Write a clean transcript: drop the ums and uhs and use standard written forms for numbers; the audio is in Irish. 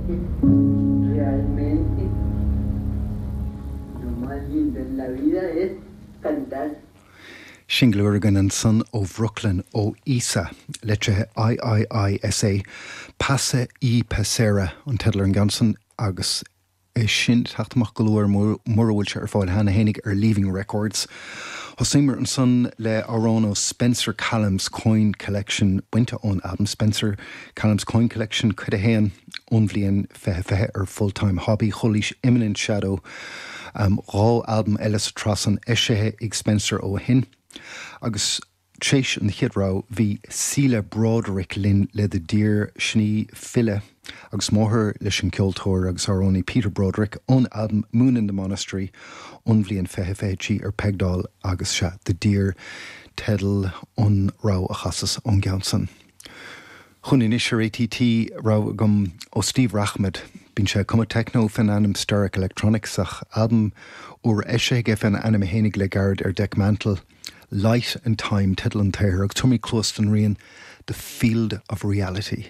que realmente lo más lindo en la vida es cantar. Singil úr againn ansan ó Bhrooklyn, ó Iisa, litrithe IIISA, Pasa y Pasera an teideal ar an gceann san agus é sin ag teacht amach go luath mura bhfuil sé ar fáil cheana fhéinig ar Leaving Records. Thosaíomar ansan le amhrán ó Spencer Callum's Coin Collection, bainte ón albam Spencer Callum's Coin Collection Cuid 1 ón bhliain 2020 ar Full Time Hobby. Chualaís Imminent Shadow, 2 albam eile sa tsraith san eisithe ag Spencer ó shin. Agus tréis an chéad rogha bhí Síle Broderick linn le The Deer, sin í file agus máthair leis an gceoltóir agus amhránaí Peter Broderick, ón albam Moon in the Monastery ón bhliain 2023 ar Pegdoll agus sea, The Deer teideal an rogha a chasas ón gceann san. Chugainn anois ar ATT rogha agam ó Steve Rachmad. Bíonn sé ag cumadh techno fén ainm Steric Electronics ach albam úr eisithe aige fén ainm fhéinig le gairid ar Dekmantel. Light and Time teideal an tsaothair agus tabharfaimid cluas don rian The Field of Reality.